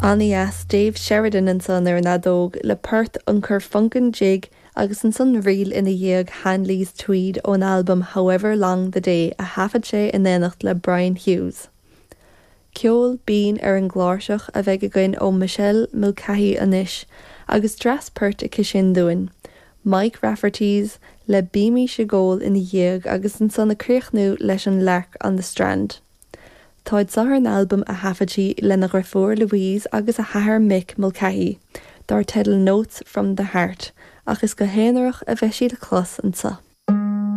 Ana-dheas Dave Sheridan ansan ar an fheadóg le port an Corfunkin Jig agus ansan ríl ina dhiaidh Hanley's Tweed ón albam However Long the Day a thaifead sé in éineacht le Brian Hughes. Ceol binn ar an gcláirseach a bheidh againn ó Michelle Mulcahy anois agus dreas poirt aici sin dúinn, Mike Rafferty's le Bímís ag Ól ina dhiaidh agus ansan ag críochnú leis an Lark on the Strand. Táid seo ar an albam a thaifead sí lena dheirfiúr Louise agus a hathair Mick Mulcahy, dar teideal Notes from the Heart, ach is go haonarach a bheidh sí le clos anseo.